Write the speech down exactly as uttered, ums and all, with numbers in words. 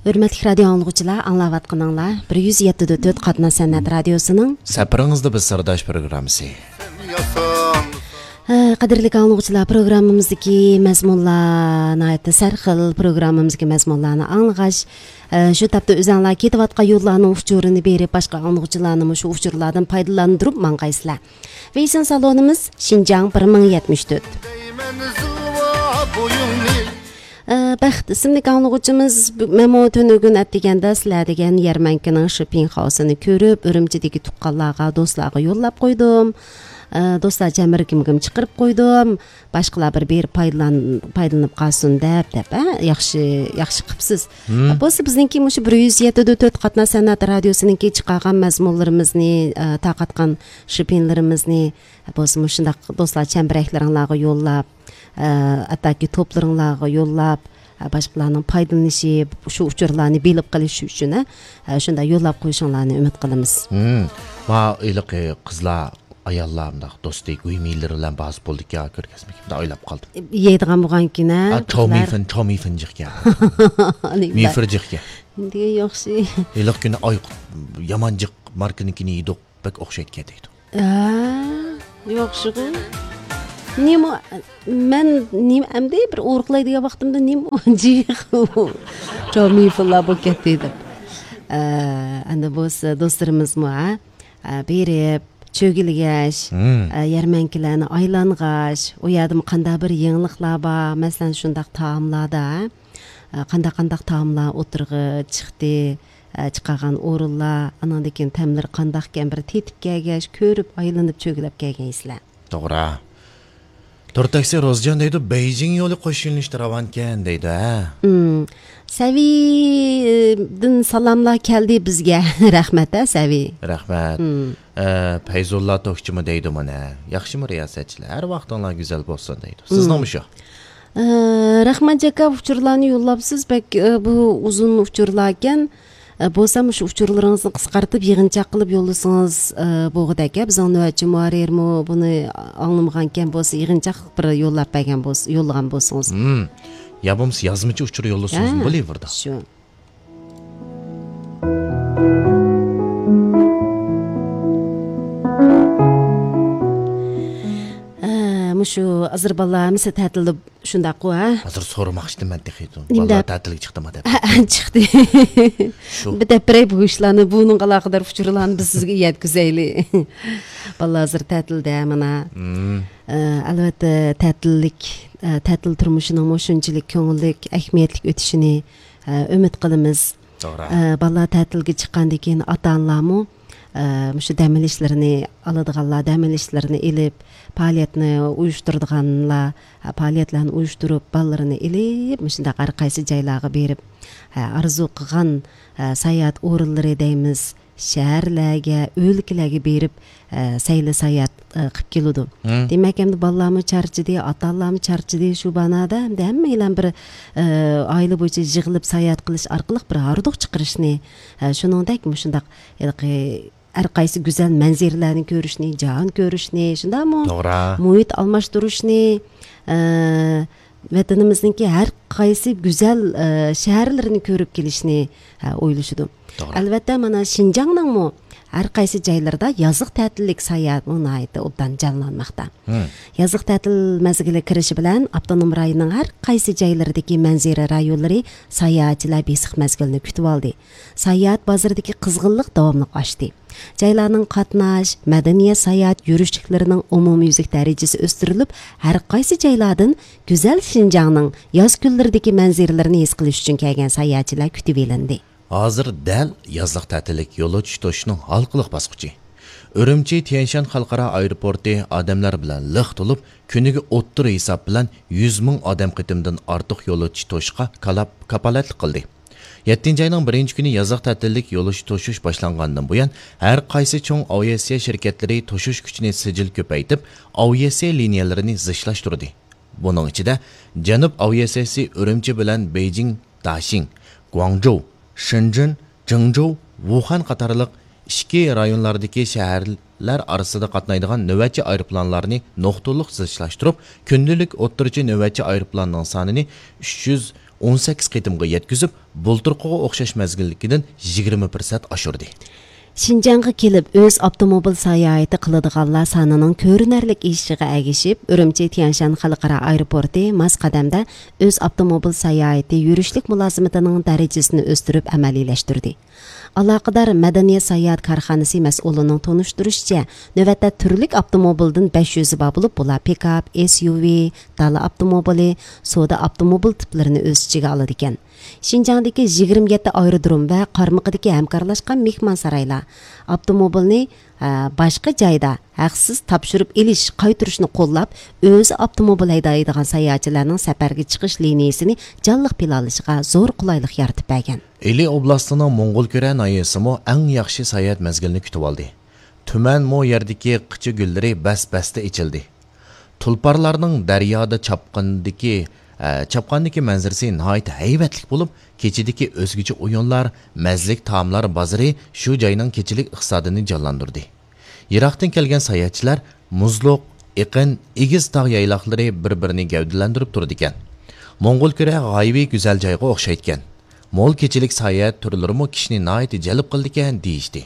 ھۆرمەتلىك رادىيو ئاڭلىغۇچىلار، ئاڭلاۋاتقىنىڭلار بىر يۈز يەتتە دۆت تۆت قاتناش سەنئەت رادىيوسىنىڭ سەپىرىڭىزدە بىز سىرداش پروگراممىسى. ھە، قەدىرلىك ئاڭلىغۇچىلار، پروگراممىمىزدىكى مەزمۇنلار ناھايىتى سەرخىل. پروگراممىمىزدىكى مەزمۇنلارنى ئاڭلىغاچ، ئە، شۇ تاپتا ئۆزەڭلار كېتىۋاتقان يوللارنىڭ ئۇچۇرىنى بېرىپ، باشقا ئاڭلىغۇچىلارنىمۇ شۇ ئۇچۇرلاردىن پايدىلاندۇرۇپ ماڭغايسىلەر. ۋېيسىن سالونىمىز شىنجاڭ بىر مىڭ يەتمىش تۆت. ئە، بەخت ئىسىملىك ئاڭلىغۇچىمىز، بۇ، مەنمۇ تۈنۈگۈن ئەتىگەندە سىلەر دېگەن يەرمەنكىنىڭ شىپىڭخاۋسىنى كۆرۈپ، ئۈرۈمچىدىكى تۇغقانلارغا، دوستلارغا يوللاپ قويدۇم. ئە، دوستلار چەمبىرىكىمگىمۇ چىقىرىپ قويدۇم. باشقىلار بىر بېرىپ پايدىلان-، پايدىلىنىپ قالسۇن دەپ، دەپ، ھە، ياخشى، ياخشى قىپسىز. ھە، بولسا بىزنىڭكى مۇشۇ بىر يۈز يەتتە تۆت قاتناش سەنئەت رادىيوسىنىڭكى چىقارغان مەزمۇنلىرىمىزنى، ئە، تارقاتقان شىپىنلىرىمىزنى، بولسا مۇشۇنداق دوستلار چەمبىرەكلىرىڭلارغا يوللاپ، ئە، ھەتتاكى توپلىرىڭلارغا يوللاپ، ئە، باشقىلارنىڭ پايدىلىنىشى، شۇ ئۇچۇرلارنى بىلىپ قېلىشى ئۈچۈن، ئە، شۇنداق يوللاپ قويۇشۇڭلارنى ئۈمىد قىلىمىز. ھىم. ما ھېلىقى قىزلار، ئاياللار مۇنداق دوستى، گۇيمىلىرى بىلەن بارسا بولىدىكەن، كۆرگەزمىگە مۇنداق ئويلاپ قالدىم. يەيدىغان بولغانكىن، ھە، ئا، قىزلار. چاۋمىفېن، چاۋمىفېن جىقكەن. نېمە مىفىر جىقكەن. دېگەن ياخشى. ھېلىقى كۈنى ئاي، يامان جىق ماركىنىڭكىنى يېدۇق، بەك ئوخشايدىكەن دەيدۇ. ھە، ياخشىغۇ. نېمە، مەن نېمە ئەمدى بىر ئورۇقلايدىغان ۋاقتىمدا نېمە جىق چاۋمىفېنلار بولۇپ كەتتى دەپ. ئە، ئەندى بولسا دوستلىرىمىزمۇ، ھە؟ ئە، بېرىپ، چۆگىلىگەچ، ھىم. ئە، يەرمەنكىلەرنى ئايلانغاچ، ئۇ يەردىمۇ قانداق بىر يېڭىلىقلار بار، مەسىلەن، شۇنداق تائاملاردا، ئە، قانداق، قانداق تائاملار ئوتتۇرىغا چىقتى، ئە، چىقارغان ئورۇنلار، ئانىڭدىن كېيىن تەملىرى قانداقكەن، بىر تېتىپ كەلگەچ، كۆرۈپ، ئايلىنىپ، چۆگىلەپ كەلگەيسىلەر. توغرا. تور تاكسى روزجان دەيدۇ، بېيجىڭ يولى قوش يۆنىلىشتە راۋانكەن دەيدۇ، ھە؟ ئىم، سەۋىدىن سالاملار كەلدى بىزگە. رەھمەت، ھە، سەۋى. رەھمەت. ئىم. ئە، پەيزۇللا توكچىمۇ دەيدۇ مانا، ياخشىمۇ رىياسەتچىلەر؟ ھەر ۋاقتىڭلار گۈزەل بولسۇن دەيدۇ. سىزنىڭمۇ شۇ؟ ئە، رەھمەت جاكا، ئۇچۇرلارنى يوللاپسىز، بەك، ئە، بۇ ئۇزۇن ئۇچۇرلاركەن. ئە، بولسا مۇشۇ ئۇچۇرلىرىڭىزنى قىسقارتىپ يىغىنچاق قىلىپ يوللىسىڭىز، ئە، بولغۇدەك. بىزنىڭ نۆۋەتچى مۇھەررىرمۇ بۇنى ئاڭلىمىغانكەن بولسا، يىغىنچاق بىر يوللاپ بەرگەن بولسا، يوللىغان بولسىڭىز. ھىم. يا بولمىسا يازمىچە ئۇچۇر يوللىسىڭىزمۇ ھە، بولۇۋېرىدۇ. شۇ. ئە، مۇشۇ ھازىر بالىلار ھەممىسى تەتىلدە شۇنداققۇ، ھە؟ ھازىر سورىماقچىدىم مەن تېخى. ئىندەپ. بالىلار تەتىلگە چىقتىمۇ دەپ. ھە، چىقتى. شۇ. بىر دەپ بېرەي بۇ ئىشلارنى، بۇنىڭغا ئالاقىدار ئۇچۇرلارنى بىز سىزگە يەتكۈزەيلى. بالىلار ھازىر تەتىلدە مانا. مم. ئە، ئەلۋەتتە، تەتىللىك، ئە، تەتىل تۇرمۇشىنىڭمۇ شۇنچىلىك كۆڭۈللۈك، ئەھمىيەتلىك ئۆتۈشىنى، ئە، ئۈمىد قىلىمىز. توغرا. ئە، بالىلار تەتىلگە چىققاندىن كېيىن ئاتا-ئانىلارمۇ، ئە، مۇشۇ دەم ئېلىشلىرىنى ئالىدىغانلار، دەم ئېلىشلىرىنى ئېلىپ، پائالىيەتنى ئۇيۇشتۇرىدىغانلار، ئە، پائالىيەتلەرنى ئۇيۇشتۇرۇپ، بالىلىرىنى ئېلىپ، مۇشۇنداق ھەر قايسى جايلارغا بېرىپ، ئە، ئارزۇ قىلغان، ئە، ساياھەت ئورۇنلىرى دەيمىز، شەھەرلەرگە، ئۆلكىلەرگە بېرىپ، ئە، سەيلە ساياھەت، ئە، قىلىپ كېلىدۇ. مم. دېمەك، ئەمدى بالىلارمۇ چارچىدى، ئاتا-ئانىلارمۇ چارچىدى شۇ مانادا. ئەمدى ھەممەيلەن بىر، ئە، ئائىلە بويىچە يىغىلىپ ساياھەت قىلىش ئارقىلىق بىر ھاردۇق چىقىرىشنى، ئە، شۇنىڭدەك مۇشۇنداق ھېلىقى ھەر قايسى گۈزەل مەنزىرىلەرنى كۆرۈشنى، جاھان كۆرۈشنى، شۇنداقمۇ؟ توغرا. مۇھىت ئالماشتۇرۇشنى، ئە، ۋەتىنىمىزنىڭكى ھەر قايسى گۈزەل، ئە، شەھەرلىرىنى كۆرۈپ كېلىشنى، ئە، ئويلىشىدۇ. توغرا. ئەلۋەتتە، مانا شىنجاڭنىڭمۇ ھەر قايسى جايلىرىدا يازلىق تەتىللىك ساياھەتمۇ ناھايىتى ئوبدان جانلانماقتا. ھىم. يازلىق تەتىل مەزگىلى كىرىشى بىلەن ئاپتونوم رايوننىڭ ھەر قايسى جايلىرىدىكى مەنزىرە رايونلىرى ساياھەتچىلەر بېسىق مەزگىلنى كۈتۈۋالدى. ساياھەت بازىرىدىكى قىزغىنلىق داۋاملىق ئاشتى. جايلارنىڭ قاتناش، مەدەنىيەت ساياھەت يۈرۈشلۈكلىرىنىڭ ئومۇميۈزلۈك دەرىجىسى ئۆستۈرۈلۈپ، ھەر قايسى جايلاردىن گۈزەل شىنجاڭنىڭ ياز كۈنلىرىدىكى مەنزىرىلىرىنى ھېس قىلىش ئۈچۈن كەلگەن ساياھەتچىلەر كۈتۈۋېلىندى. ھازىر دەل يازلىق تەتىللىك يولۇچى توشۇشنىڭ ھالقىلىق باسقۇچى. ئۈرۈمچى تيەنشان خەلقئارا ئايروپورتى ئادەملەر بىلەن لىق تولۇپ، كۈنىگە ئوتتۇرا ھېساب بىلەن يۈز مىڭ ئادەم قېتىمدىن ئارتۇق يولۇچى توشۇشقا كالاپ-، كاپالەتلىك قىلدى. يەتتىنچى ئاينىڭ بىرىنچى كۈنى يازلىق تەتىللىك يولۇچى توشۇش باشلانغاندىن بۇيان، ھەر قايسى چوڭ ئاۋىئاتسىيە شىركەتلىرى توشۇش كۈچىنى سىجىل كۆپەيتىپ، ئاۋىئاتسىيە لىنىيەلىرىنى زىچلاشتۇردى. بۇنىڭ ئىچىدە، جەنۇب ئاۋىئاتسىيەسى ئۈرۈمچى بىلەن بېيجىڭ، داشىڭ، گۇاڭجۇ، شېنجېن، جېڭجۇ، ۋۇخەن قاتارلىق ئىچكى رايونلاردىكى شەھەرلەر ئارىسىدا قاتنايدىغان نۆۋەتچى ئايروپىلانلارنى نۇقتىلىق زىچلاشتۇرۇپ، كۈندىلىك ئوتتۇرىچە نۆۋەتچى ئايروپىلاننىڭ سانىنى ئۈچ يۈز ئون سەككىز قېتىمغا يەتكۈزۈپ، بۇلتۇرقىغا ئوخشاش مەزگىلدىكىدىن يىگىرمە پىرسەنت ئاشۇردى. شىنجاڭغا كېلىپ ئۆز ئاپتوموبىل ساياھىتى قىلىدىغانلار سانىنىڭ كۆرۈنەرلىك ئېشىشىغا ئەگىشىپ، ئۈرۈمچى تيەنشان خەلقئارا ئايروپورتى ماس قەدەمدە ئۆز ئاپتوموبىل ساياھىتى يۈرۈشلۈك مۇلازىمىتىنىڭ دەرىجىسىنى ئۆستۈرۈپ ئەمەلىيلەشتۈردى. ئالاقىدار مەدەنىيەت ساياھەت كارخانىسى مەسئۇلىنىڭ تونۇشتۇرۇشىچە، نۆۋەتتە تۈرلۈك ئاپتوموبىلدىن بەش يۈزى بار بولۇپ، بۇلار پىكاپ، ئېس يۇ ۋى، دالا ئاپتوموبىلى، سودا ئاپتوموبىل تىپلىرىنى ئۆز ئىچىگە ئالىدىكەن. شىنجاڭدىكى يىگىرمە يەتتە ئايرودروم ۋە قارمىقىدىكى ھەمكارلاشقان مېھمانسارايلار ئاپتوموبىلنى، ئە، باشقا جايدا ھەقسىز تاپشۇرۇپ ئېلىش، قايتۇرۇشنى قوللاپ، ئۆزى ئاپتوموبىل ھەيدەيدىغان ساياھەتچىلەرنىڭ سەپەرگە چىقىش لىنىيىسىنى جانلىق پىلانلىشىغا زور قولايلىق يارىتىپ بەرگەن. ئىلى ئوبلاستىنىڭ موڭغۇلكۈرە ناھىيەسىمۇ ئەڭ ياخشى ساياھەت مەزگىلىنى كۈتۈۋالدى. تۈمەن مو يەردىكى قىچا گۈللىرى بەس-بەستە ئېچىلدى. تۇلپارلارنىڭ دەريادا چاپقاندىكى، ئە، چاپقاندىكى مەنزىرىسى ناھايىتى ھەيۋەتلىك بولۇپ، كېچىدىكى ئۆزگىچە ئويۇنلار، مەززىلىك تائاملار بازىرى شۇ جاينىڭ كېچىلىك ئىقتىسادىنى جانلاندۇردى. يىراقتىن كەلگەن ساياھەتچىلەر مۇزلۇق، ئېقىن، ئېگىز تاغ يايلاقلىرى بىر-بىرىنى گەۋدىلەندۈرۈپ تۇرىدىكەن. موڭغۇلكۈرە غايىۋى گۈزەل جايغا ئوخشايدىكەن. مول كېچىلىك ساياھەت تۈرلىرىمۇ كىشىنى ناھايىتى جەلپ قىلىدىكەن، دېيىشتى.